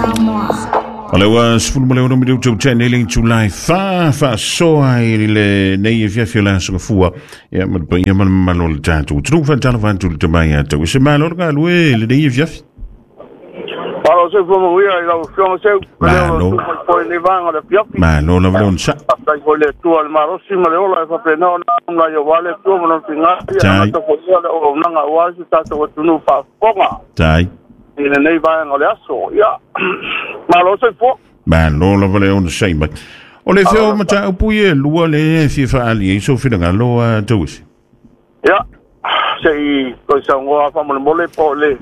Samoa. O le ua 16 minutu tene le July fa fa soa i le nei e fiafi o le aso gafua. Ia ma le paia ma le mamalu o le tatou atunuu faatalofa atu i le tamai ia tau. Se malo le galue le nei e fiafi. Malo se fua manuia i lau Afioga Seu, le leo o Malo. lau mai foi i lenei vaega o le afiafi. Malo lava le onosai. Faafetai foi i le Atua i le malosi ma le ola e faapena ona aumai aua le Atua ma lona figa, ia Tai. amata foi ia le auaunaga aua si o tatou atunuu faafofoga Tai. i lenei vaega o le aso. Ia, malo soifua. Malo lava le onosai mai. O le fea o mataupu ia e lua le e fia faaali ai sou finagalo a Tauisi. Ia, se i toe saunoa faamolemole po o le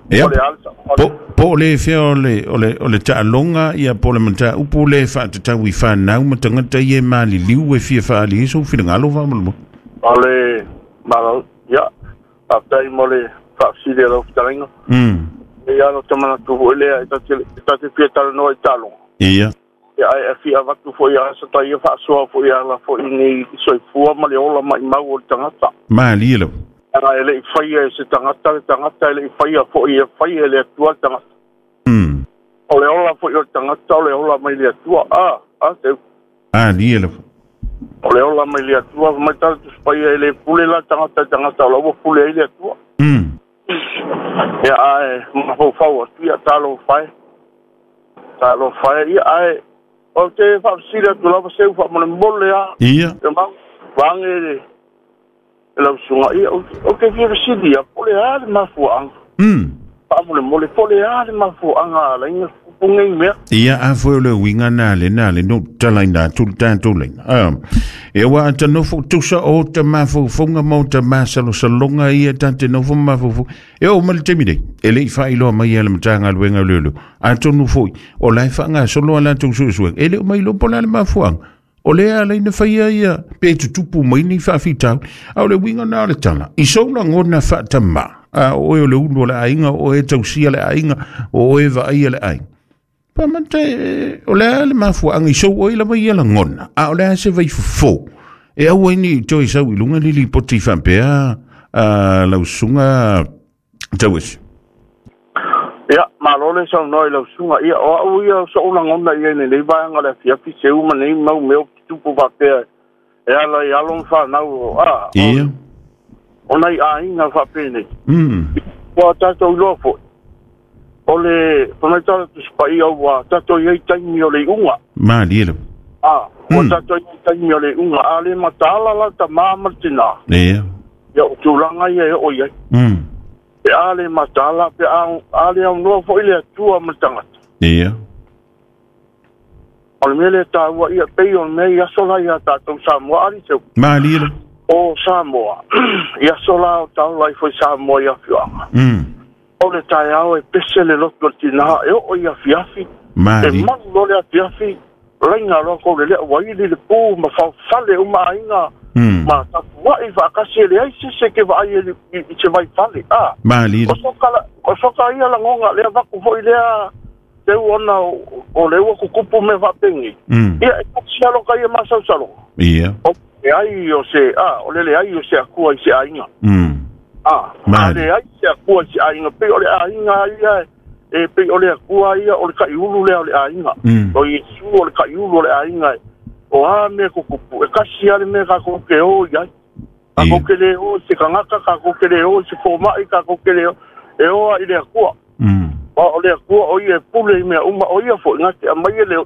Ia. po o le a le Po, po o le fea o le, o le, o le taaloga ia po o le mataupu le faatatau i fanau ma tagata ia e maliliu e fia faaali ai sou finagalo faamolemole. O le malo, ia, faafetai mo le faafesili a lau fetalaiga. Ia no te manatu foi lea e ta te fia talanoa i taaloga. Ia. Ia ai e fia avatu foi a sa tai faasoa foi ala foi ni soifua ma le ola maimau o le tagata. Malie lava. Aga e le i faia e se tagata le tagata e le i faia foi e faia e le Atua le tagata. O le ola foi o le tagata o le ola mai le Atua. Ah, ah, te, Malie lava. o le ola mai le Atua mai tala tusipaia e le pule la tagata i tagata o la ua pule ai le Atua. Ia ae mafaufau atu ia talofa e. Talofa e ia ae o te faafesili atu lava seu faamolemole a. Ia. E mau vaage le lau susuga ia ou te fia fesili ia po o le a le mafuaaga. Faamolemole po o le a le mafuaaga a ala ai tupu nei mea. Ia a foi o le uiga na le na le no talaina atu le tatou laina. Ah, e ua ata nofo tusa o ta mafaufauga ma o ta masalosaloga ia ta te nofo ma mafaufau. E oo mai le taimi nei, e le i faailoa mai e le Matagaluega o Leoleo. Atonu foi, o la e faagasolo a latou suesuega. E le o mai iloa po o le a le mafuaaga. O lea ala ai na faia ia pe tutupu mai ni faafitauli. A o le uiga na o le tala, i sou lagona faatamā, a o oe o le ulu o le aiga, o oe e tausia le aiga, o oe e vaaia le aiga. Pa mate, o le a le mafuaaga i sou oe lava ia lagona, a o le a se vaifofo. E aua ai ni toe sau i luga ni lipoti faapea a lau susuga Tauisi. Ia malo le saunoa i lau susuga ia o au ia o so'u lagona ia i lenei vaega o le afiafi seu ma nei mau mea o tutupu faapea e ala i alo ma fanau a Ia. o nai aiga faapenei. Ua tatou iloa foi o le famaitala tusipaia ua tatou i ai taimi o le iuga. Malie lava. A ua tatou i ai taimi o le iuga a le mataala la tamā ma le tinā. Ia. Ia o tulaga ia e oo i ai. Pe a le mataala pe a le aunoa foi le Atua ma le tagata. Ia. O le mea lea taua ia pei o le mea i aso la ia tatou Samoa ali seu. Malie lava. O Samoa i aso la o taola ai foi Samoa i afioaga. O le taeao e pese le loto o le tinā e oo i afiafi. E Malie. malu loa le afiafi laina loa kou le lea ua ili le pu ma faofale uma aiga. Ma tapua'i faakasi e leai se ke vaai e i se vaifale. A. Malie. O soka o soka ia lagoga lea vaku foi lea teu ona o le ua kukupu mea faapenei. Ia e kasi aloka ia masausaloga. Ia. O leai o se a o le leai o se Atua i se aiga. A a Mali. leai se Atua i se aiga pei o le aiga ia e pei o le Atua ia o le kaiulu lea o le aiga. O Iesu o le kaiulu o le aiga. O a mea kukupu e kasi a le mea kākou ke o i ai. Kākou ke le o i se tagata, kākou ke le o i se fomai, kākou ke le o e o a i le Atua. O le Atua o ia e pule i mea uma o ia foi na te aumai e le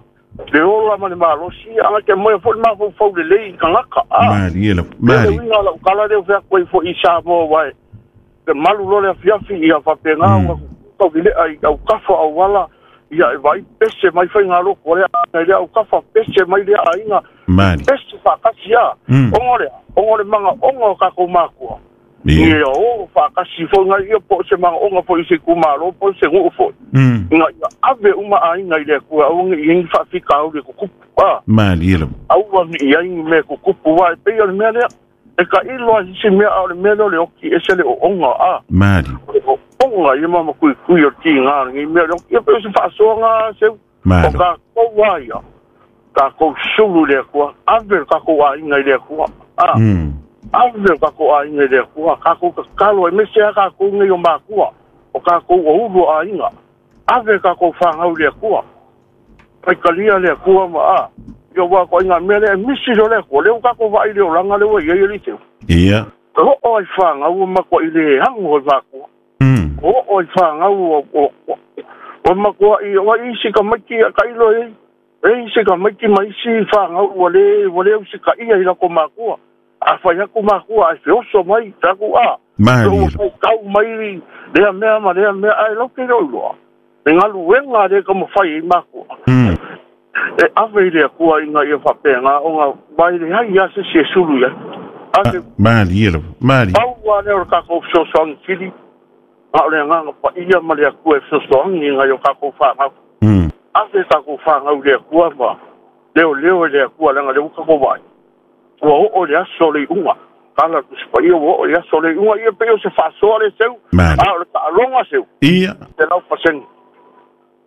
le ola ma le malosi a na te aumaia foi le mafaufau lelei i tagata. A. Malie lava. Le Malie. uiga o lau tala lea o feaku ai foi i Samoa uae le malu loa le afiafi ia faapena ua taulilea i aukafa auala ia e vaai pese mai faigaloko lea aiga i lea aukafa pese mai lea aiga. Malie. Pese faakasi a. Ona lea ona le magaoga o tatou makua. Ia. Ia o faakasi foi nai ia po o se magaoga foi i se itumalo po o se nuu foi. Ina ia ave uma aiga i le Atua aua ne i ai ni faafitauli e tutupu a. Malie lava. Aua ne i ai ni mea e tutupu uae pei o le mea lea. E tailo ai isi mea a o le mea lea o le oki ese le ooga a. Malie. O le ooga ia mamakuikui o le tiga o lenei mea o le oki. Ia pei o se faasoaga seu. O Malo. tatou a ia. Tatou sulu i le Atua. Ave le tatou aiga i le Atua. A. Ave le tatou aiga i le Atua. Tatou tatalo ai mese a tatou nei o makua. O tatou o ulu o aiga. Ave kākou whāngau le akua. Paikalia le akua ma a. Ia wā ko inga mea le misi lo le akua. Leo kākou vai le olanga le wa ia ia li teu. Ia. O o ai whāngau ma ko i le hangu o mākua. O o ai whāngau o makua i o isi ka maiki ka ilo e. E isi ka maiki ma isi whāngau ua le usi ka ia i lako mākua. A whai aku mākua ai whioso mai taku a. Maali. O kau mai lea mea ma lea mea ai lau ke roi loa. E ngalu wenga le ka mawhai i mākua. E ave i le akua i ngā ia whapenga o ngā mai le hai ia se se sulu ia. Ave. Maali e maali. Pau wā leo kākou fesoasoani kili. A o le nganga pa ia ma le akua e fesoasoani i ngā i o kākou whāngau. Ave kākou whāngau le akua ma leo leo e le akua langa le uka ko vai. Ua o le aso le unga. Kala tusipa ia ua o le aso le unga ia pe o se whaasoa le seu. Maali. A o le taalonga seu. Ia. Te lau paseni.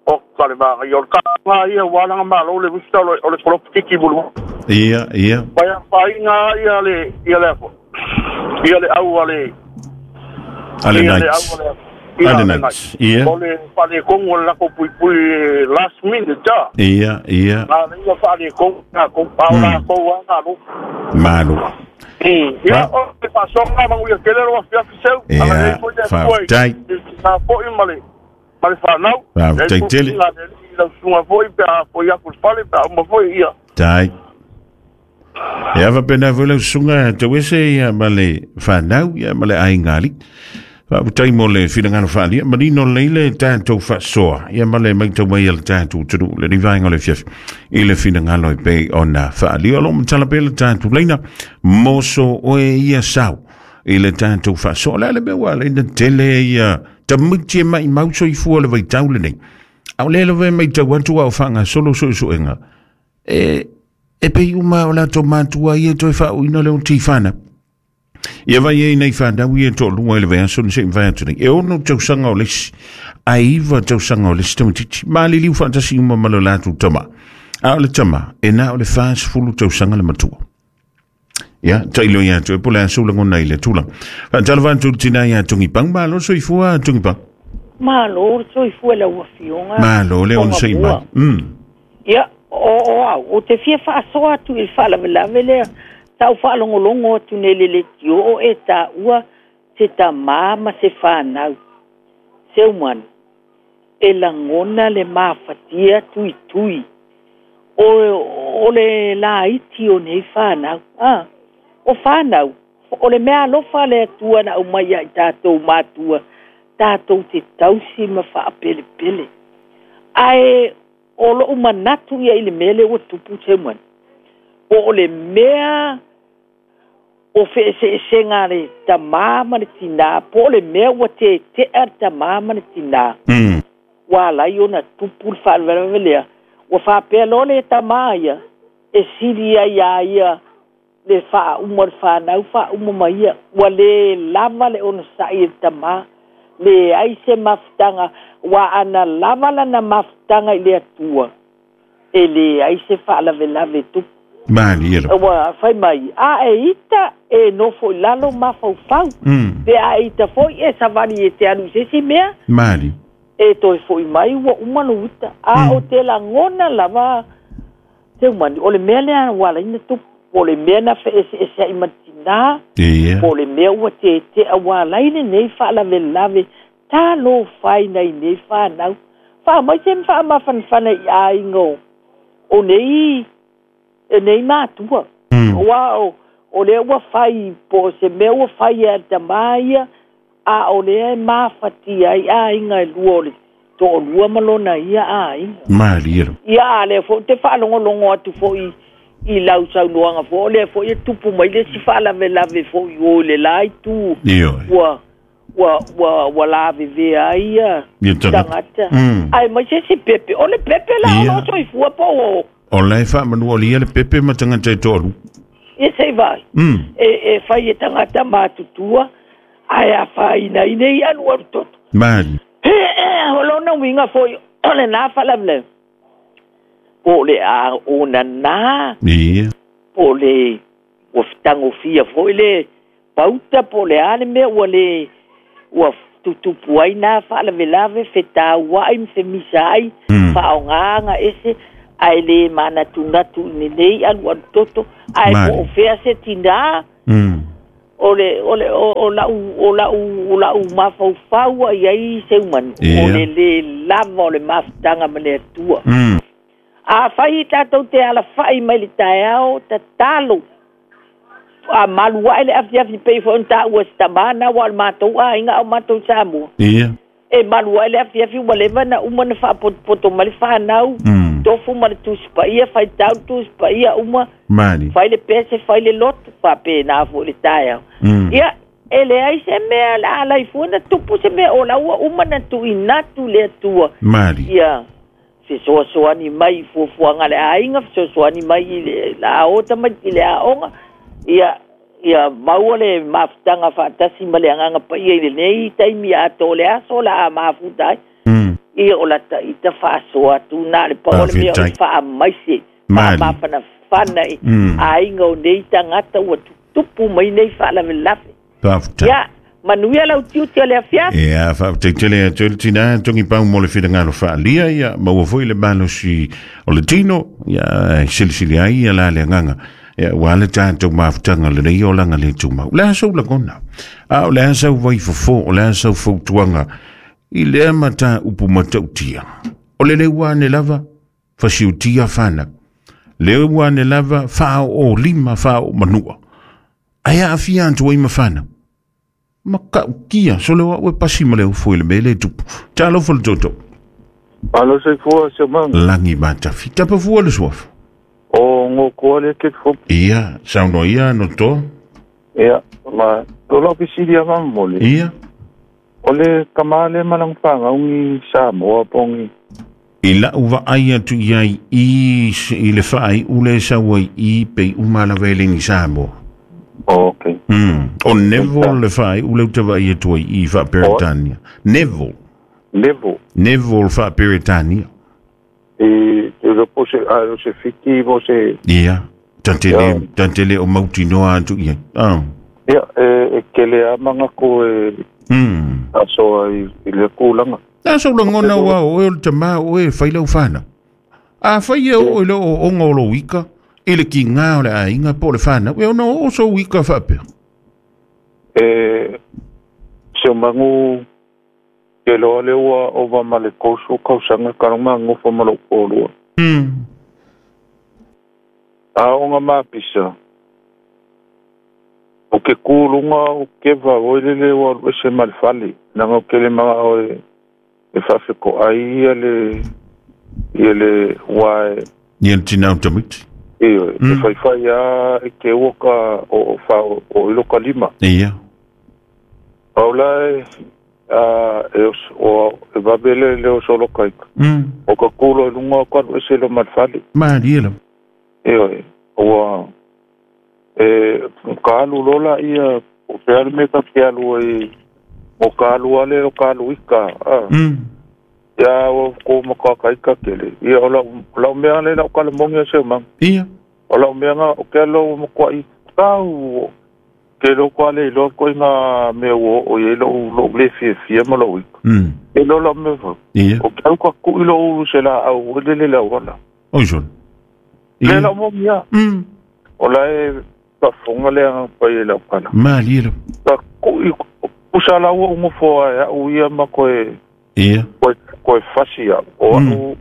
O ka le maga ia o le ka ngā ia wālanga malo le vusta o le koloputiki mulu. Ia, ia. Pai a whainga ia le ia le afo. Ia le au a le Ale nights. Ale nights. Ia. O le whale kongo le lako pui pui last minute ta. Ia, ia. Ngā le ia whale kongo ngā kou pau la kou a ngā lo. Malo. Ia o le whasonga mangu ia kele roa fiafi seu. Ia, whaafutai. Ngā foi ma le ma le whanau. Whaafutai tele. Ngā le lau sunga foi pe a foi aku fale pe a uma foi ia. Tai. Ia wapena foi lau sunga te wese ia ma le whanau ia ma le aingali. Whaafutai mo le whirangano whaalia. Marino leile tātou whaasoa. Ia ma le maitau mai le tātou tunu. Le rivainga le fiafi. I le whirangano i pe o nā whaalia. Alo matala pe le tātou leina. Moso oe ia sau. I le tātou whaasoa. Le ale mea le ina tele ia. Tamiti e mai mauso i fua le vaitau le nei. Au le lewe mai tau atu au whanga solo so so enga. E pe uma o la tō mātua ia toi whau ina leo tifana. Ia vai e nei whanau ia tō lunga i le vea so nse mwhai atu nei. E ono tausanga o lesi, a iwa tausanga o lesi tamatiti. Maali liu whaatasi uma malo lātou tama. A o le tama, e nā o le whaas fulu tausanga le matua. Ia, tailo ia atu e pole aso langona i le tūlang. Whaatala whantu tina ia tungi pang, malo soifua tungi pang. Malo soifua la uafionga. Malo le on sei mai. Ia, o au, o te fia whaasoa atu i whaalavelave lea. Tau whaalongolongo atu ne lele tio o e tā ua se tā ma se whanau. Se umanu, e langona le māwhatia tui tui. O le la iti o nei whanau. Ah, o whanau, o le mea alofa le atua na umai ai tātou mātua. Tātou te tausi ma whaapelepele. Ae o lo umanatu ia i le mele ua tupu te umanu. O le mea o whaeseesenga le tamā ma le tinā, po le mea ua te tea le tamā ma le tinā. Wa lai ona tupu le whaalavelea. Ua whaapea lo le tamā ia, e siri ai ia ia le whaauma le whanau, whaauma ma ia. Ua le lava le ona sai e tamā, le ai se mafutanga, wa ana lava lana mafutanga i le atua. E le ai se whaalavelave tupu. Mali e Ua whai mai, a e ita e nofo i lalo mawhaufau. Pe a e ita foi e sawani e te anu se si mea. Mali. E toi foi mai ua umano uta. A o te langona lava te umani. O le mea lea wala ina tupu. O le mea na whaese e se ai matina. O le mea ua te te a wala ina nei whaalavelave. Tā lo whai nei nei whanau. Wha mai te mwha mawhanwhana i a ingo. O nei e nei mātua. Oa o lea ua whai po se mea ua whai a tamaia a o lea e māwhati ai a inga e lua o le tō lua malona ia a inga. Maali ero. Ia a lea fo te whaalongolongo atu fo i lau saunoanga fo o lea fo i tupu mai le si whaalavelave fo i o le lai tu. Ua la vevea ia tangata. Ai mai se si pepe. O le pepe la o loto i fua po o. O lai wha manu o lia le pepe ma tangata e tōru. E sei vai. E whai e tangata mātutua, ai a whai ina ine i anu aru toto. Maali. O lona winga foi, o le nā whalavle. Po le a o na nā. Ia. Po le ua whitangofia foi le pauta, po le ane mea ua le ua Tutupu ai nā faalavelave fetauaʻi ma femisa ai faaaogāga ese ae lē manatunatu i lenei alualu toto ae po o fea se tinā o le o le o la'u o la'u o la'u mafaufau ai ai seumanu o le lē lava o le mafutaga ma le Atua. Afai tatou te alafa'i mai le taeao tatalo a malu ae le afiafi pei foi ona taua se tamā ua o le matou aiga ao matou Samoa. Ia. E malu ae le afiafi ua leva na uma na faapotopoto mai le fanau tofu ma le tusi paia faitau le tusi paia uma Mali. Fai le pese fai le loto faapena foi le taeao. Ia e leai se mea la alai fua na tupu se mea o la ua uma na tuuina atu le Atua. Mali. Ia fesoasoani mai i fuafuaga a le aiga fesoasoani mai i le laota mai i le aoga ia ia maua le mafutaga faatasi ma le agaga paia i lenei taimi atoa o le aso la a mafuta ai. Ia o lata ita faasoa atu na le pau o le mea o le faamaise faamafanafana i aiga o nei tagata ua tutupu mai nei faalavelave. Faafetai. Ia manuia lau tiute o le afiafi. Ia, faafetai atu le tinā togi pau mo le finagalo faaalia ia maua foi le malosi o le tino ia silisili ai ia la le agaga ia ua le tatou mafutaga lenei olaga le tumau. O le a sau lagona? A o le a sau vaifofo? O le a sau fautuaga i lea mataupu matautia? O le leu ane lava fasiutia fanau. Leu ane lava faaoo lima faaoo manua. Ae aafia atu ai ma fanau. Ma ka'ukia sole o a'u e pasi ma le ufo i le mea le tupu. Talofa le toto. Alo soifua Seumaga. Lagi matafi. Tapafua le suafa. O gokoa le ke fo. Ia, saunoa ia no toa. Ia, ma o lau fesili a mamole. Ia. O le tamā le ma lana fagaugi Samoa pogi. I la'u vaai atu iai i i le faai'u le sau ai i pei uma lava e legi Samoa. Okay. O Neville le faai'u le uta vaai atu ai i faaperetania. Neville. Neville. Neville faaperetania. E le po se a o se fiti po se. Ia. Tantele tantele o mautinoa atu iai. Ah. Ia e kele a manga ko e asoa i le kulaga. Na sau lagona ua o oe o le tamā o e fai lau fanau. A fai e oo i le ooooga o lou ika i le kigā o le aiga po o le fanau e ona oo sou ika faapea. E Seumagu ke loa le ua ova ma le 30 tausaga kaloma gofo ma lou polua. Aoga mapisa o ke kuluga o keva oi lele ua alu ese ma le fale naga o kele magao e faafekoʻai ia le ia le ua e Ia le tinā o tamaiti. Ioe, e faifai a e ke ua ka o fa o ilo ka lima. Ia. Au la e a e o e vavele le o solo kaika. O ka kulo i lunga o ka alu ese lo ma le fale. Malie lava. Ioe, ua e ka alu lola ia o pe alu me ka ke alu ai o ka alu ale o ka alu ika. Ia o ko maka kaika kele. Ia o lau mea le lau kalamongi o Seumaga. Ia. O lau mea nga o ke alo mo kwa i tau ke lo kwa le lo ko nga me o o ye lo lo le fie fie ma lo ika. E lo lo me fo. Ia. O ke au ka ku i lo ulu se la au le le la wala. Oi son. Le lau mo mia. O la e ka fonga le anga pa i lau kala. Malie lava. Ka ku i kusa la ua ungo foa e au ia ma koe. Ia. Koe fasi au. O au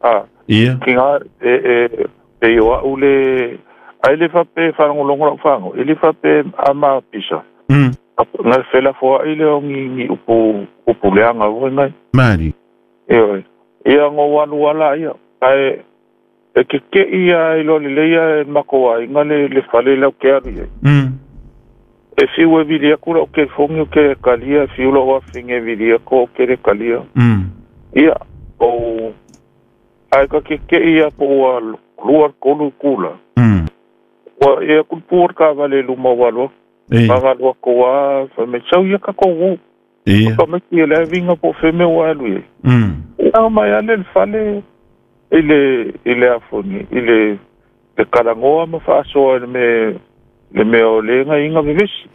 a. Ia. Ki ngā e e o au le ai le fape whalongolongo lau whango. E le fape ama pisa. Ngā whela foa i le o ngi upu leanga ua ngai. Malie. E oi. Ia ngō wanu wala ia. Ai e ke ke ia i lo le leia e mako ai ngā le whale lau ke aru ia. E fiu e vili aku lau ke fongi o ke kalia, fiu lau awhinge vili aku o ke le kalia. Ia, o ai ka ke ke ia po ua lua kolu kula. Ua ia kulpua ka vale luma walua. Nga lua koa, wha me sau ia ka kou. Ia. Ka me ki le vinga po wheme o alu ia. Ia mai ale le fale i le afoni, i le kalangoa ma whaasoa le me le mea o le inga inga vevesi.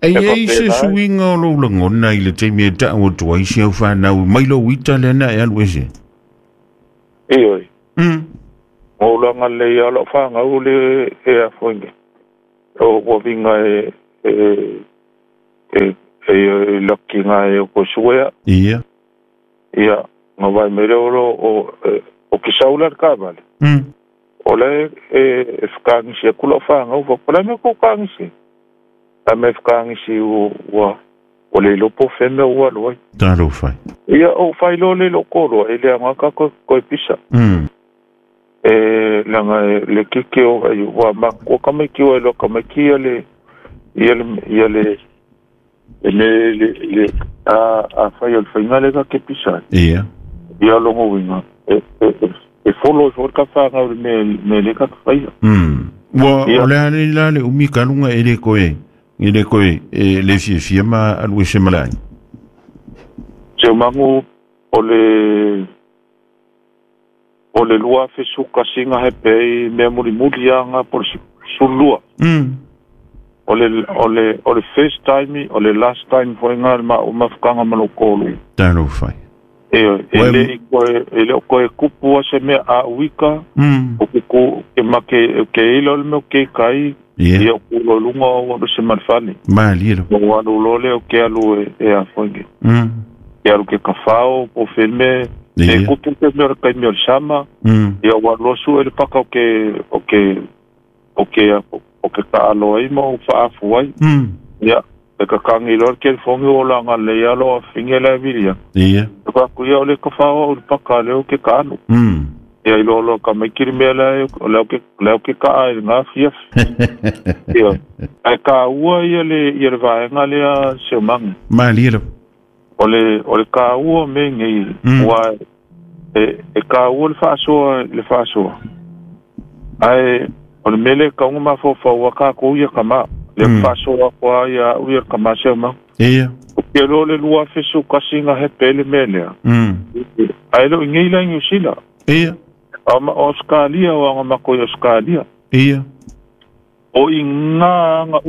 Ai se suiga o lou lagona i le taimi e ta'u atu ai si au fanau mai lou ita lea na e alu ese. Ioe. O laga lelei a la'u fagau le e afoige o uaviga e e e lakiga e o koe Ia. Ia ga vai mai le o o ke saula le kavale. O le e fekagisi aku la'u fagau faapea mea kou kagisi a me fekagisi ua o le iloa po o fea mea ua alu ai. Talofa. Ia ou faailoa le lo'u koloa e leaga ka koe pisa. E laga le keke o ai ua makua kamaiki ua iloa kamaiki ia le ia le ia le le le a fai o le faiga le ka ke pisa. Ia. Ia logo uiga e folo i fo ka fagau le mea le ka faia. Ua o le a le la le umi kaluga e le koe e le koe e le fiafia ma alu ese malaai. Se magu o le lua fesuka singa he pei mea mulimuli aga po le sulua. O le first time o le last time foiga le mafukaga ma lou kolu. Talofa. E le e le o koe kupu a se mea a uika o ke ku ke make ke ila o le mea o ke kai. Ia o kulo luga o alu se malefale. Malie lo. O alu lo le o ke alu e afoige. Ke alu ke kafao po filme e kupu ke mea o le kaimi o le sama. Ia ua losu e le paka o ke o ke o ke o ke kaalo ai ma o faafu ai. Ia e kakangi loa le kelifogi o laga lei alo afiga le vilia. Ia. E fakuia o le kafao o le paka le o ke kaalo. Ia i loa loa ka maiki le mea lae o leo ke kaa i le gafiafi. Ia. Ae kāua ia le vaega lea seomaga. Malie lava. O le kāua me nei ua e kāua le faasoa le faasoa. Ae o le mea lea e kauga mafaufau a kākou ia kamā. Le faasoa koa ia au ia kamā seomaga. Ia. O ke loa le lua fesu kasiga he pe le mea lea. Ae leo i nei la i Niu Sila. Ia. O Australia o aga mako i Australia. Ia. O i ngā anga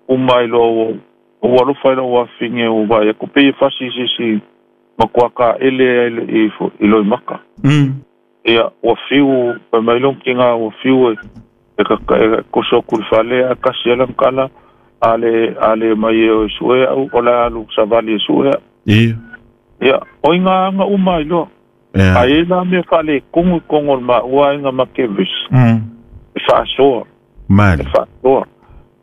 umai loa o alofa i lau afine o vai aku pei e fasi sisi makua ka ele i loi maka. Ia, ua fiu, pai mai long ki ngā ua fiu e koso aku le fale a kasi ala ngkala ale mai e o sue au o la alu savali e sue au. Ia. Ia, o i ngā anga umai loa. Ae la mea whale kongu kongo ma ua inga ma kevis. E whaasoa. Mali. E whaasoa.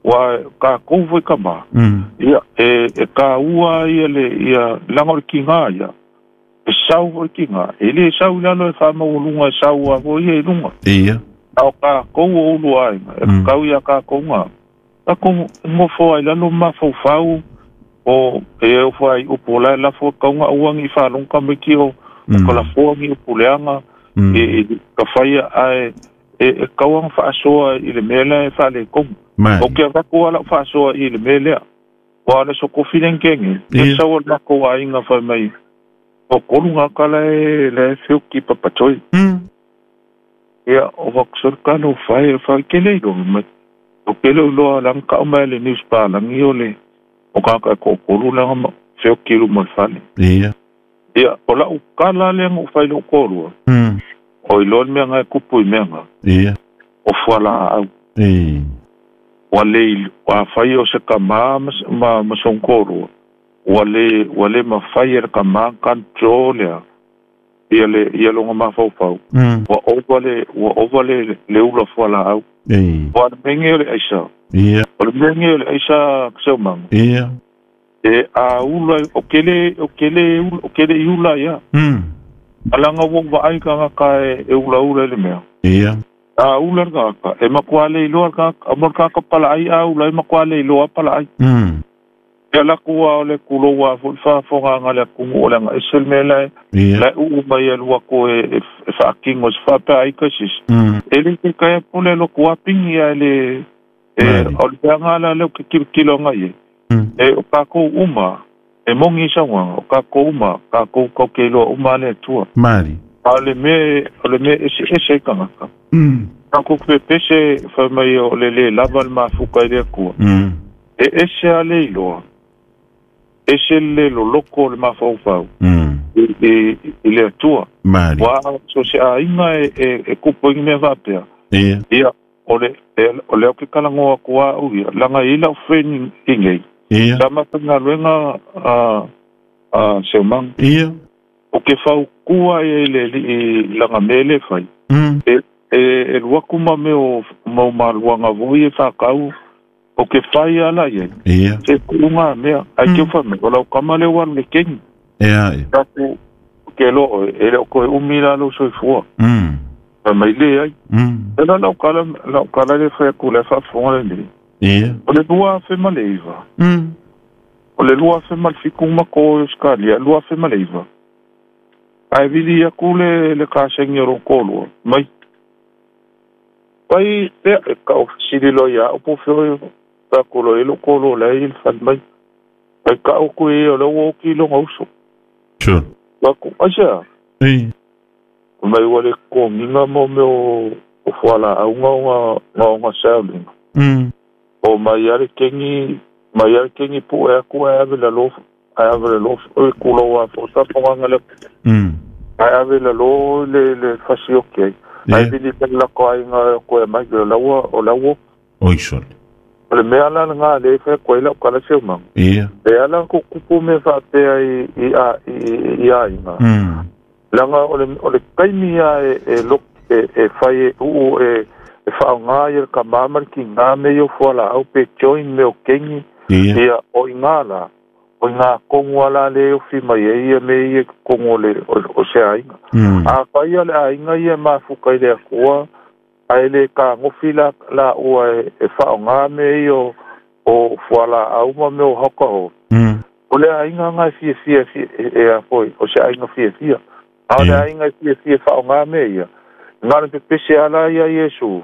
Wa ka kou ka ma. Ia, e ka ua ia le, ia langa o le ki ngā ia. E sau o le ki ngā. E le sau lalo e whaama o lunga e sau a o ia i lunga. Ia. Ao ka kou o ulu a inga. E kau ia ka kou ngā. Ka kou ngofo ai lalo mawhau o e o whai upo lai lafo kaunga uangi whalonga me ki o o ka lafoa ngi o puleaga e ka faia ae e kauaga faasoa i le mea lea e faalekomu. O ke avaku a la'u faasoa i le mea lea ua le sokofi legege e sau o le makou aiga fai mai o kolu gaka lae lae feoki papatoi. Ia o fakusolekana o fae fae ke le iloa mai o ke le iloa laga ka'u mai le news palagi o le o kaka e ko'okolu laga feoki luma o le fale. Ia. Ia, o lau kala lea ngou fai lou kolua. O iloa le mea ga e kupu i mea ga. Ia. O fualaau. Ua le ua fai o se kamā ma songkolua. Ua le mafai e le kamā control lea. Ia le ia loga mafaufau. Ua ova le ula fualaau. Ua le mege o le aisa. Ia. O le mege o le aisa seomaga. Ia. E a ula o kele i ula ia. Alanga ua vaai kagaka e ula ula le mea. Ia. A ula le kagaka e makua le iloa le kagaka mo le kagaka palaai a ula e makua le iloa palaai. Ia laku a o le kuloua a fo'i faafogaga le akugu o le aga ese le mea lae lae uu mai e lua ko e faakigo se faapea ai kaisisi. E le ke kaea pule loku apigi ae le e o le peaga la leo ke kilokilo agai ai. E o kākou uma, e mongi sauaga, o kākou uma, kākou kauke iloa uma le Atua. Mali. A o le mea ese ese i kagaka. Kākou pepese fai mai o le lē lava le mafuka i le Atua. E ese a le iloa ese le loloko o le mafaufau i le Atua. Ua so se aiga e kupu i mea faapea. Ia o le au ke kalangoa kua au ia langa i lau friend i ngei. Sa mafaigaluega seumanga. O ke faukua ia i le alii laga mea le fai. E luaku ma mea o mau maluaga voi e fakau o ke fai ala ia. Se kuuga mea ai ke fa me o lau kama le walu le kengi. Taku ke lo e le o koe umi la lo soifua. Mai le ai. E la lau kala le fai aku le faafofoga lenei. O le 2009. O le 2007 ma ko Australia 2009. Ai vili aku le kasengi o kolua mai. Pai pe ka o sili lo ia o po feo pa ko lo elo ko lo le il fal mai. Pai ka o ku e o lo o ki lo ngauso. Sure. Pa ku asia. Ei. Mai wale ko nginga mo me o fuala au nga nga saulinga. O mai ale kengi pu e aku e ave la lo o ku lo wa fo ta ponga le. Ai ave la lo le fasioke. Ai vili la ko ai nga ko e mai la wa o la wo. Oi sol. O le mea la nga le fe ko ila ka la se ma. Ia. E ala ko kupu me fa te ai i a i a inga. Langa o le kaimi a e lo e fai u e fa nga ia ka mama ki nga me yo fo la au pe join me o kengi. Ia o inga la o inga kongu ala le o fi mai e ia me ia kongu le o se ainga. A fai le ainga ia mafuka i le akua ai le ka ngofi la ua e fa nga me yo o fuala au ma me o hoka ho. O le ainga nga fia fia e a foi o se ainga fia fia. A le ainga fia fia fa nga me ia. Nga le pese ala ia Yesu.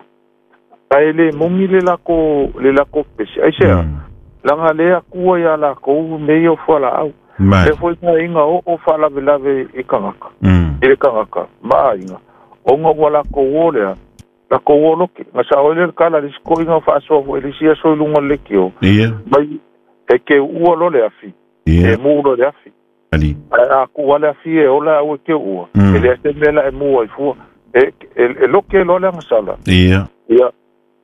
Ai le mungi le lako pese. Ai sea. Langa le akua ia la kou me yo fuala au. Le foi nga inga o falavelave i kangaka. I le kangaka. Ma inga. O nga wala kou o lea. La kou o loke. Nga sa oele kala le siko inga whaasoa fo elisia so ilunga le kio. Mai e ke ua lo le afi. E mu lo le afi. A ku wale afi e ola au e ke ua. E le ase mela e mua i fua. E loke lo le anga sala. Ia.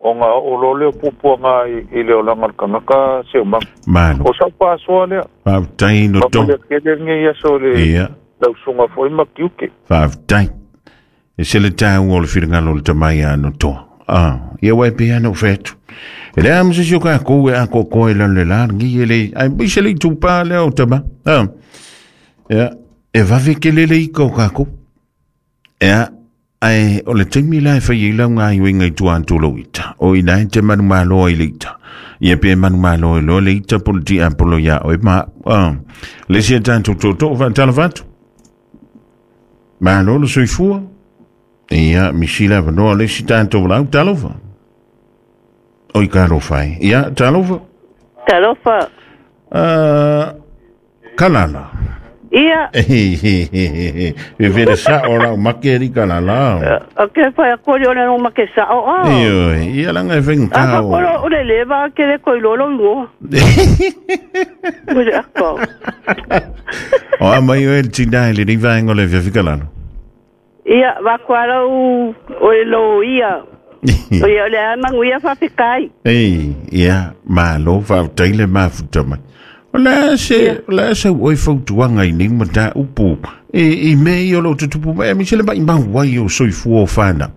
O ngā o lo leo pupua ngā i leo langa kangaka se o manga. Malo. O sau pāsoa lea. Whaafutai no tō. Whaafutai kele nge ia so le lausunga foi ma kiuke. Whaafutai. E se le tāu o le whiringalo le tamai a no toa. Ia wai pe ana o whetu. E le amsa si o kā kou e a kokoe lan le la ngi e le. Ai se le tupā lea o tama. Ia. E wawe ke lele i kau kā kou. Ia. Ai o le taimi la e fai i lau ngā iwenga i tua antolo ita. O ina e te manu maloa i le ita. Ia pe manu maloa i loa le ita polo ti apolo ia o e ma. Le sia tātou tōtō whaatala whatu. Malo le soifua. Ia misila wanoa le si tātou lau talofa. O i ka alofa e. Ia talofa. Talofa. Kalala. Ia. E vere sa o lau make ri kalala. O ke whai a kori o le no make sa o a. Ia langa e whenga kao. A whakoro o le lewa ke le koi lolo ingoa. Ue ako. O a mai o e tina e le riva engo le whiawhika lalo. Ia, wakuara o le lo ia. O ia o le a manguia whawhikai. Ei, ia, malo whautaile mafuta mai. O la se oi fautuanga i nei mata upu. E i me i o lo tutupu mai, mi se le mai mau wai o soifua o whana.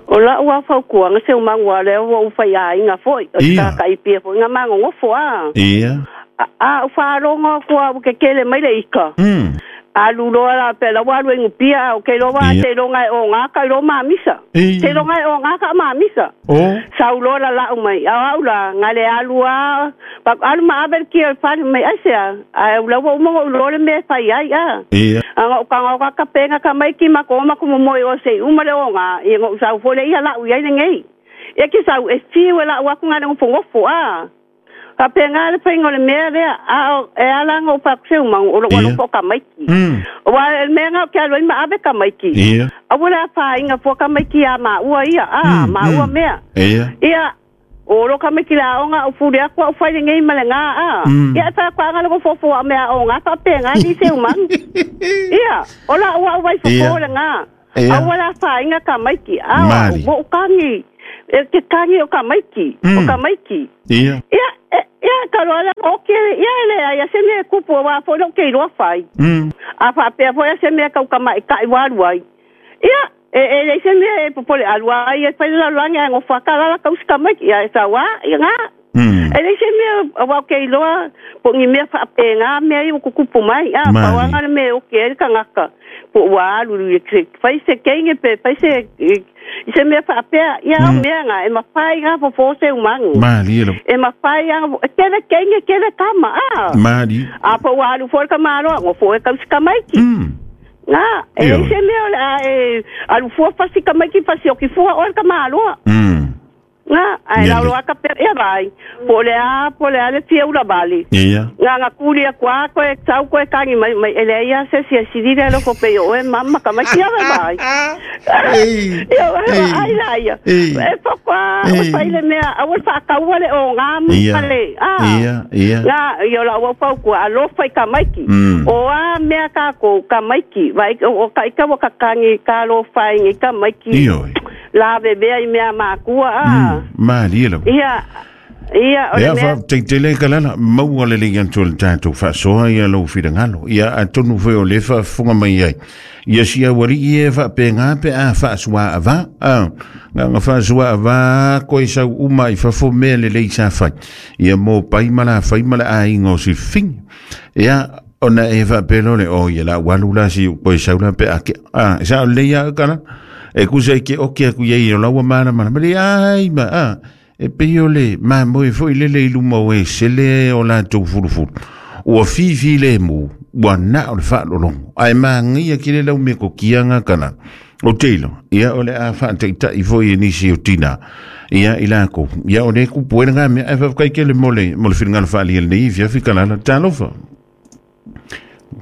O la ua faukuanga se umangua lea ua uwhai a inga foi. O te kai pia foi nga mango ngofo a. Ia. A uwharonga kua ukekele mai le ika. Alu loa la pela walu e ngupia o ke loa te longa e o ngaka i lo mamisa. Te longa e o ngaka mamisa. Sau loa la lau mai. Au au la ngale alu a. Alu ma abel ki al fali mai aisea. Ai ula wa umongo ulo le me fai ai a. Anga o kanga o kaka penga ka mai ki mako mako momoi o se umale o ngā. I ngo sau fole ia lau iai ngei. Ia ki sau e fiwe lau aku ngale ngofo a. Ka penga le painga le mea lea a e ala ngo pa se mango o lo po ka maiki. O wa le mea nga ke alo ma ave ka maiki. A wala fa inga po ka maiki a ma ua ia a ma ua mea. Ia. Ia O lo ka meki la onga o fuli aku au fai ngai ma le nga a. Ia ta kwa nga lo fofo a mea o nga pa pe nga ni se umang. Ia, ola ua wai fofo le nga. Au la fa inga ka maiki. A o kangi. E ke kangi o ka maiki. O ka maiki. Ia. Ia ia ka lo la o ke ia le ia se me kupu wa fo lo ke ro fai. A fa pe fo se me ka ka mai ka i waru ai. Ia e le se me popole alua ai e fai la langa ngo fa ka la ka uska mai ia sa wa ia nga. E le se me wa ke loa po ni me fa pe nga me ai ku kupu mai a pa wa nga me o ke ka ngaka po wa lu lu fai se ke nge pe fai se se me fa pe ia me nga e ma fai nga fo fo se umang mali lo e ma fai nga ke le ke nge ke le kama a mali a po wa lu fo ka ma lo ngo fo ka uska mai ki nga e se me o e alu fua fasi ka mai ki fasi o ki fua o ka ma lo nga ai la lo ka pe e vai pole a le fia ula vale ia nga nga kuli kwa ko e tau ko e kangi mai mai ele ia se se sidira lo ko pe o e mamma ka mai kia vai ei ai la ia e po kwa o fai le mea a o fa ka wale o nga male a ia ia nga yo la o pau ko alo fai ka mai ki o a mea ka ko ka mai ki vai o ka ka ka kangi ka lo fai ngi ka mai ki la bebe ai mea makua a mali lo ia ia o le mea fa tele ka la maua le le antu le tatou faasoa ia lou finagalo ia atonu foi o le faafofoga mai ai ia sia uali'i e faapega pe a faasuā avā a nga faasuā avā koe sau uma i fafo mea lelei sa fai ia mo pai ma la fai ma le aiga o silifigi ia ona e faapelo le o ia la ualu la si koe sau la pe a ke a sa o lelei a kala e kusa i ke oke aku iai o laua mana mana ma le ai ma a e pei o le mamoe foi lele i luma o e sele o latou fulufulu ua fifi le mu ua na o le faalologo ae magaia ki le lau mea kokiaga kana o teilo ia o le a faataita'i foi e nisi o tina ia i lakou ia o le kupu e laga mea ae faafetai kele mo le finagalo faaalia lenei fiafi kalala talofa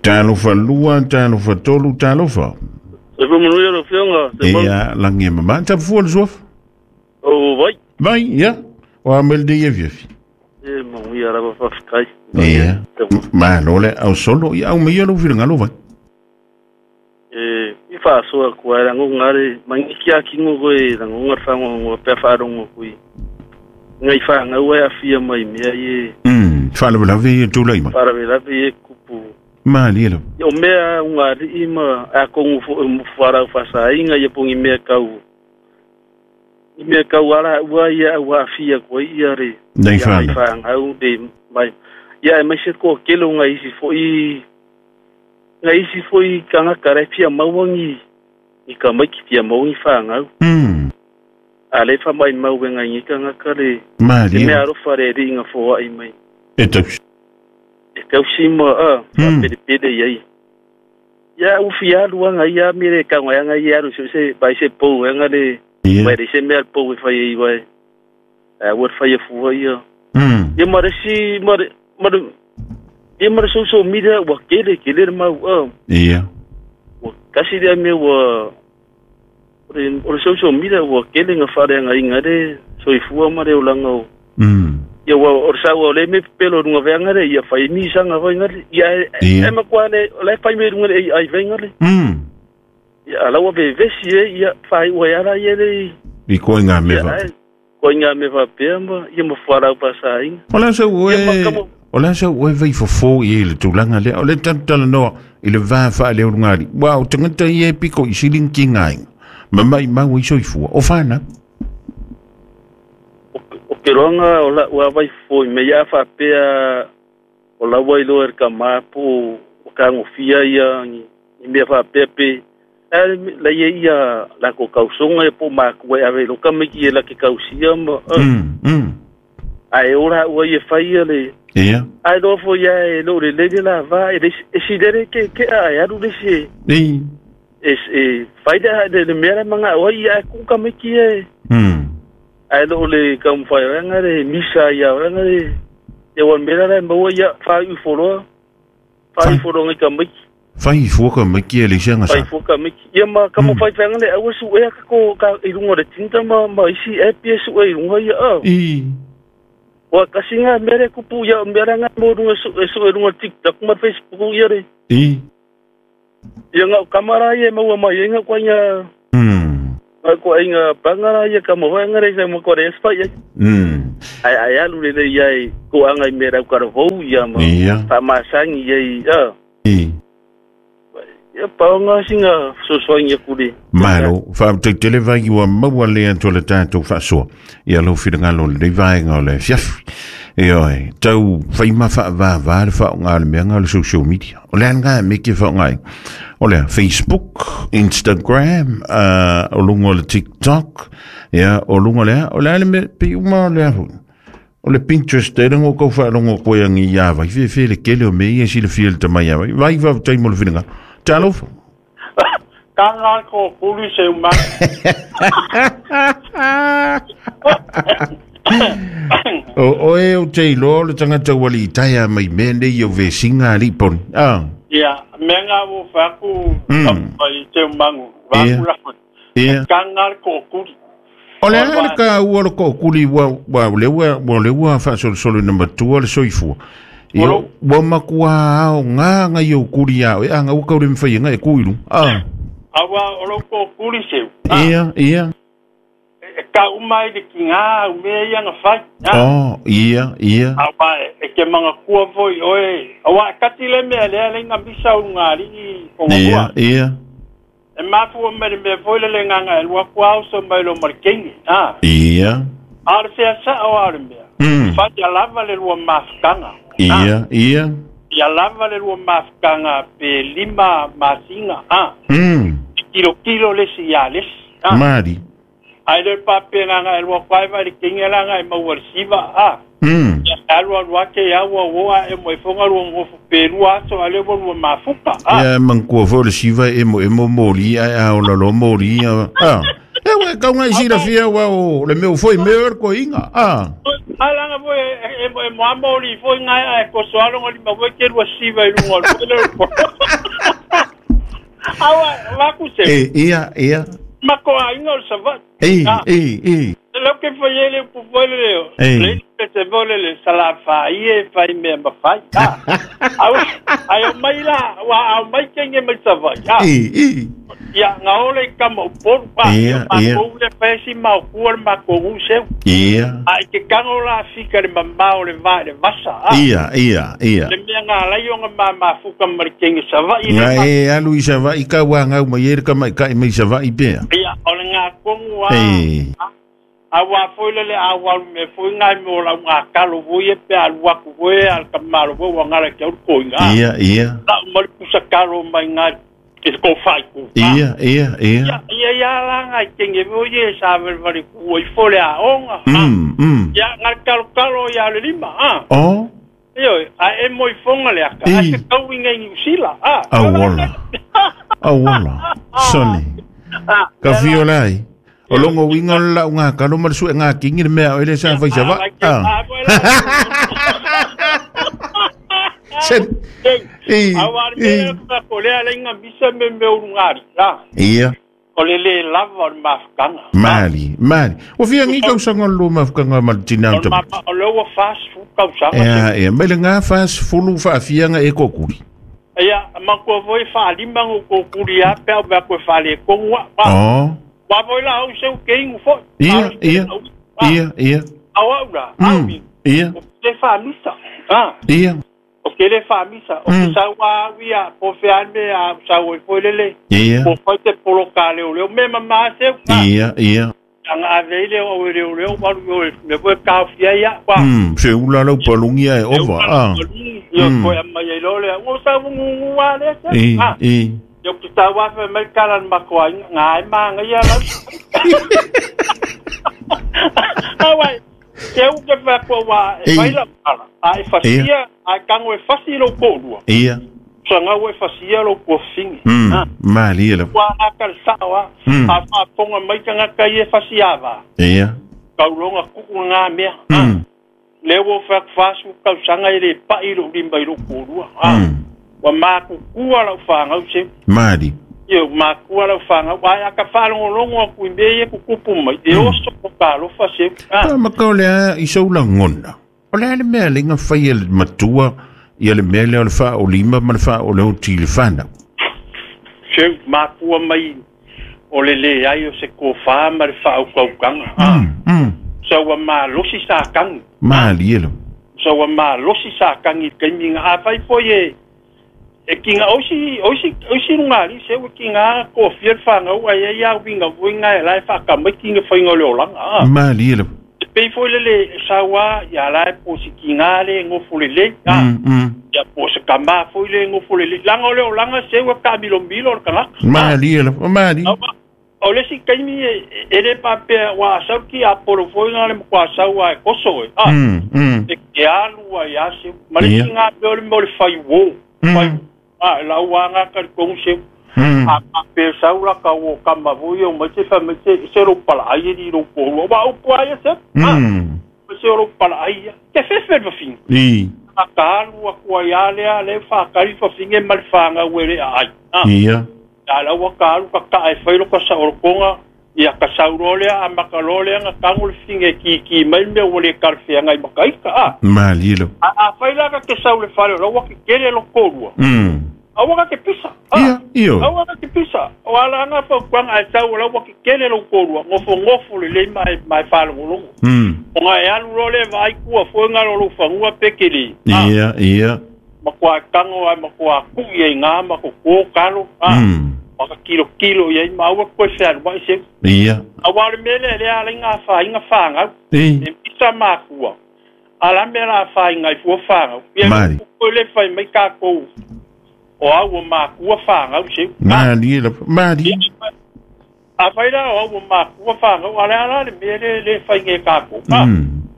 talofa lua talofa tolu talofa. Se manuia lo fionga se mau. Ia langi mama ta fua le suafa. O vai. Vai ia. O amel de ia fiafi. E manuia lava faafetai. Ia. Malo le au solo ia au mai lo finagalo vai. E i faasoa kua rango ngare mangi kia kingo koe rango ngare whango pea whaarongo kui. Ngai whangau ai awhia mai mea i e. Whaalavelave i e tūlai mai. Whaalavelave i e kupu. Mali lo. O mea ungari ma a kongu wharau whasainga ia pongi mea kau. I mea kau ara ua ia ua awhia koe ia re. Nei whana. Whangau de mai. Ia e mai se ko kelo ngai isi foi. Ngai isi foi kanga kare fia mauangi. I ka mai ki fia mauangi whangau. A le wha mai mau ngai ngi kanga kare. Mali. E mea aro whare ringa fōa i mai. E tausi. E tausi ma a. Pere pere iai. Ia ufi alu anga ia mire ka ngai anga ia alu se bai se pou anga le. Mai re se mea pou e whai i wai. A ua whai e fua ia. Ia mare si mare mare ia mare social media ua kele kele mau a. Ia. Ua kasi rea mea ua o le social media ua kele nga whare anga inga re soifua mare o langa o. Ia ua o sa ua le me pelo runga venga re ia whai mi sanga venga re ia e makua le le whai me runga le ai venga re. Ia ala ua vevesi e ia whai ua ara ia le. I koe ngā mewa. Koe ngā mewa pea ma ia ma wharau pasa inga. O la sa ue o la sa ue vei fofo i le tūlanga lea o le tantala noa i le vā wha le urungari. Wa o tangata i e piko i siling ki ngā inga. Ma mai mau i soifua. O whana? O ke roanga o la ua vai fofo i me ia whapea o la wai loa ka māpo o ka ngofia ia i mea whapea pe. La ia ia la ko kausonga e po mākua e ave loka me ki e la ke kausia ma. Ai ora ua ia whai le. Ia. Ai loa fo ia e lo le lele la va e si lere ke a e aru le si. Ei. E whai le le mea manga o ia e kuka me ki e. Ai lo le kaumwhai ranga le misa ia ranga le. Ia wan mera le maua ia whai uforoa. Whai uforoa ngai ka miki. Fai fuaka miki e le sianga sa. Fai fuaka miki. Ia ma ka mo fai fanga le aua su e ka ko ka i runga le tinta ma isi e pie su e runga ia a. I. Wa kasinga mere kupu ia mere nga mo runga su e su e runga TikTok ma Facebook ia re. I. Ia nga kamara ia maua mai nga kwa ia. Nga kwa inga pangara ia ka mo nga re sa mo ko re spa ia. Ai ai alu le ia i ko anga i mera ka ro ia ma. Pa masangi ia i. I. Ia paonga singa sosoinga kuri. Malo, fa te televa i wa maua le anto le tātou whaasoa. Ia lau whirangalo le vaenga o le fiafi. E oe, tau whaima wha le whaonga le mea le social media. O le anga me ke whaonga. O le Facebook, Instagram, o lunga le TikTok, ia, o lunga le, o le ale me pe uma le ahu. O le Pinterest e rango kau whaarongo koe angi ia vai. Whe le kele o me ia si le fia le tamai ia vai. Vai wau taimo le whirangalo. Talofa. Ka ngā ko kuri se uma. O e o te iloa le tangata wali i taia mai mea nei o vesinga ali poni. Ah. Ia, mea ngā wo whaku i te umangu. Whaku rafa. Ia. Ka ngā ko kuri. O le ale ka ua le ko kuri wa le ua whaasolosolo na matua le soifua. Ia, ua makua ao ngā ngai o kuri ao, e anga ua kaure mwhai ngā e kuiru. Ah. Awa, o lo ko kuri seu. Ia, ia. E ka umai le ki ngā au mea ia ngā whai. Oh, ia, ia. Awa, e ke manga kua voi oe. Awa, e kati le mea lea le ngā misa o ngā ringi o ngā kua. Ia, ia. E mafua me le mea voi le le ngā ngā e lua kua au so mai lo markengi. Ia. A le fea sa o au le mea. Whai a lava le lua mafukanga. Ia, ia. Ia lava le lua mafukanga pe lima masinga. Kilo kilo lesi ia lesi. Mari. Ai le pape nganga e lua kwaiva le kinga langa e maua le siva. Ia alua lua ke ia ua woa e mo e fonga lua ngofu pe lua aso ale ua lua mafuka. Ia mangkua fo le siva e mo e mo moli ai a o lalo moli. E we kau ngai sira fia wa o le meu foi meu er ko inga. Alanga foi e mo amoli foi ngai a ko soalo ngoli ma foi ke lua siva i lunga le. Awa va ku se. E ia ia. Ma ko a inga o sava. E e e. Lo ke foi ele pu foi le. Le se vole le sala fa ie fa me ma fa. Awa ai mai la wa au mai kenge mai sava. E e. Ia ngā ole ka mau poru pa. Ia, ia. Ma le pesi mau kua ma ko use. Ia. Ai ke kango la fika le mamao le va le vasa. Ia, ia, ia. Le mea ngā lai o ngā ma fuka marikenge sava i le. Ngā e alu i sava i ka wā ngau mai e ka mai ka i mai sava i pea. Ia, o le ngā kongu a. A wā foi le a wā me foi ngai mo la ngā kalo voi e pe alu aku voi al ka malo voi wa ngara ke au ko inga. Ia, ia. La mari pusa kalo mai ngai ke ko fai ku. Ia, ia, ia. Ia, ia la ngai kenge voi e sa vale ku i fole a onga. Ia ngai kalo kalo ia le lima. Oh. Io a e moi fonga le aka. A se kau inga i usila. Awola. Awola. Sonny. Ka fiolai. O longo winga la unga kalo marsu nga kingi mea o ele sa fai sava. Sen. E. Awar me ka kolea le nga misa me me urungari. Ia. O le le lava o mafukanga. Mali, mali. O fia ngi kau sanga lo mafukanga maltina o o lo wa fast fu kau sanga. Ia, ia, me le nga fast fulu fa fia nga e kokuri. Ia, ma ko voi fa lima ngo kokuri a pe o ba ko fa le kongwa. Oh. Wa voi la au seu ke ingu fo. Ia, ia. Ia, ia. Awa ura. Ia. O te fa misa. Ia. O ke le fa misa. O ke sa wa wia po fe ane a sa o foi lele. Ia. Po foi te polo ka le o me mama seu. Ia, ia. Anga ave le o le o wa o me po ka fia ia. Se ula lau palungia e ova. Ia ko e mai lo le. O sa ngu wa le. E. Yo ki ta wa fe mai kala ma ko ngai ma ngai la. Awa ke u ke fa ko wa e fai la ala. A e fasia a kango e fasi lo ko lua. Ia. Sanga e fasia lo ko fingi. Mali la. Wa a kal sa wa. A fa ponga mai kanga kai e fasia va. Ia. Ka longa ku nga mea. Le wo fa fasu ka sanga ile pa i lo limba i lo ko lua. Wa makukua lau whangau se. Mari. Ia makua lau whangau. Ai aka whalongolongo aku i mea ia kukupu mai. E oso ko ka alofa se. Ah. Ma ka o lea i sau lagona. O lea le mea lenga whai e matua ia le mea lea o le wha o lima ma le wha o leo ti le whanau. Se makua mai o le le ai o se kōwhā ma le wha au kaukanga. Sa ua malosi sa kangi. Mali elo. Sa ua malosi sa kangi kaimi ngā awhai foi e e ki ngā oisi runga ali se ua ki ngā kōwhia whangau ai ai au winga vui ngā e lai whakamai ki ngā whainga le olanga. Mali elo. Te pei foi lele sa ua ia lai po si ki ngā le ngofo le le. Ia po se kama foi le ngofo le le. Langa o le olanga se ua ka milo milo o le kangaka. Mali elo. Mali. O le si kaimi e le papea wa asau ki a polo foi ngā le mkwa asau a e koso e. E ke alu a ia se. Ma le ki ngā peo le mo le whai wō. La ua ngā kari kongu se. A papea sau la ka o kama vui o mai te wha mai te se ro pala ai e ni ro pōrua. Wa upu ai e se. Se ro pala ai ia. Te whewhe le wawhinga. A ka alu a kua ia lea le whakari wawhinga e ma le whanga uere a ai. Ia. A lau ka alu ka ka e whailo ka sa orokonga ia ka saurolea a makalolea nga kango le finge ki ki mai me o le karwhea ngai makaika a. Mali lo. A whaila ka ke sau le whare o lau ke kere lo kōrua. A waka ke pisa. Ia, iyo. A waka ke pisa. O ala anga whaukuanga ai sau o lau ke kere lo kōrua. Ngofo ngofo le lei mai mai whalongolongo. O ngā e alu role vai kua whoenga lo whangua pekele. Ia, ia. Makua kango ai makua kui e ngā mako kō kalo. Maka kilo kilo ia i maua koe whearu mai se. Ia. A wale mele le ala i ngā whainga whangau. E pisa makua. Ala me la whainga i fua whangau. Ia koe le whai mai kākou. O au o makua whangau se. Mali la, mali. A whaira o au o makua whangau. Ala ala le mele le whainga e kākou.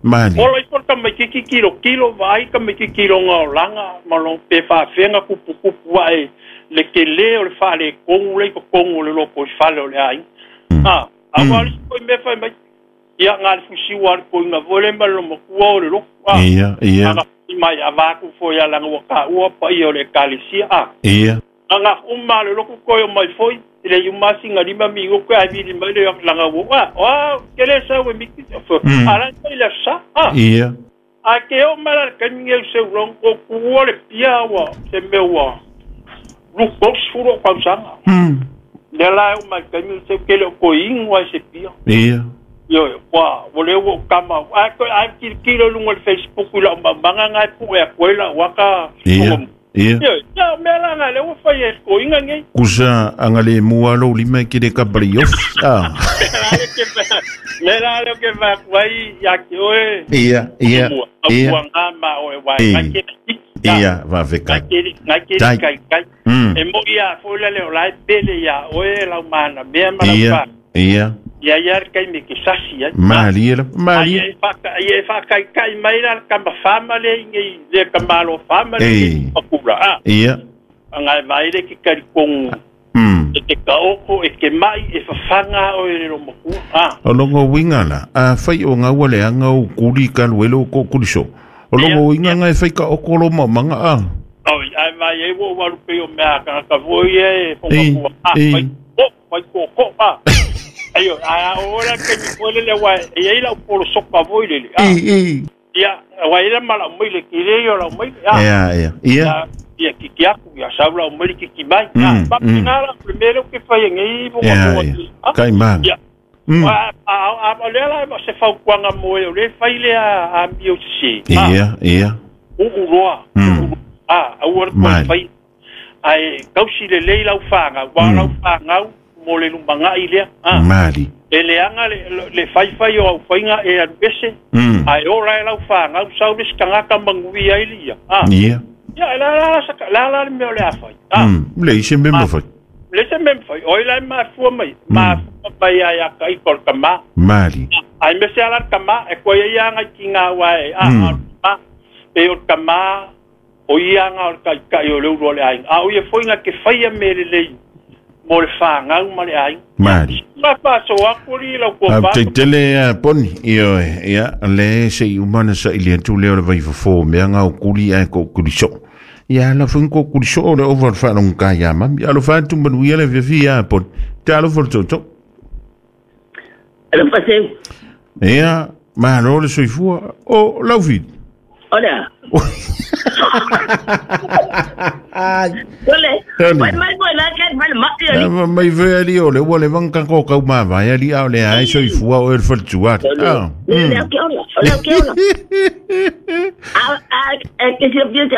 Mali. Ola i ka mai kiki kilo kilo vai ka mai kiki kilo ngā olanga. Malo pe whawhenga kupu kupu ai. Le ke le o le whale kongu le ko kongu le loko i whale o le ai. A wali koe me whai mai. Ia ngā le fusi wari koe ngā vole ma lo makua o le loko. Ia, ia. Anga mai a wāku foi a langa waka ua pa ia o le kalisia. Ia. Anga uma le loko koe o mai foi. Le iumasi ngā lima mi ngoko ai vili mai le langa wua. O, ke le sa ue miki. Ala i le sa. Ia. A ke o mara kaminge u se urong o kuua le pia ua se mea ua. Lukos furo kausanga. Le la o mai kaminge se kele o koingu ai se pia. Ia. Yo, wa, wale o kama. Ai ko ai kilo lunga le Facebook la manga ngai pu e koela waka. Ia. Ia. Ia, me la ngai le o fai e koinga ngai. Kusa anga le mua lo lima ki le kapali off. Me la le ke va kwai ya ke oe. Ia, ia. Ia. Ia ma o e wai ngai ke. Ia, va veka. Ngai ke kai kai. E mo ia fo le o lai pele ia oe lau mana mea ma lau Ia, ia. Ia ia kai me ke sasi ai. Mali la, mali. Ia e fa kai kai mai la ka ma fama le ngai le ka malo fama le pakura. Ia. Ngai vai le ke kari kongu. E te kaoko e ke mai e whawhanga o e rero makua. O longo winga la, a whai o ngā wale anga o kuri ka luelo ko kuriso. O longo winga ngai whai ka okolo ma manga a. Oi, ai vai e wo waru pe o mea ka ka voi e whakua. Whai ko, whai ko ko a. Ayo, a ora ke mi pole le wa e ai la polo sopa voi le. Ia, wa ila mala mai le ki le yo la mai. Ia, ia. Ia. Ia ki ki aku ia saula o mai ki ki mai. Pa ngala primeiro que fai ngai mo mo. Kai mang. Ia. A le la se fau kwanga mo e le fai le a mi o se. Ia, ia. U roa. A ua ko fai. Ai kausi le le lau whanga, wa lau whanga mo le lumanga i lea. Mali. E le anga le fai fai o au whainga e alu ese. Ai o lai lau whanga, sau le skangaka mangui ai lia. Ia. Ia, la la la la le mea o le a whai. Le ise mema whai. Le se mema whai. Oi lai mafua mai. Mafua mai ai a kai kol kama. Mali. Ai me se ala kama, e koe ia ngai ki ngā wae. A, e o kama, o ia ngā o kai kai o le uro le ai. A o ia whainga ke whaia me le lei. Mo le whangau ma le ai. Mari. Ma whaso akuri lau kua wha. Te tele poni, iyo ia, le se i umana sa ili atu leo le vai fofo, mea ngā o kuri ai ko kuri so. Ia la foi ko kuli so o le over whaalonga ka ia mami. Alo whaatu manu ia le fiafi ia pon. Te alo fo toto. Alo paseu. Ia, malo le soifua. O, laufit. Ora. Ole. Mai mai mai la ke mai ma ia. Mai ve ali ole ua le vanga ko kau ma vai ali a ole ai soifua o el faltua. Ah. Le ke ola. Ole ke ola. A a ke se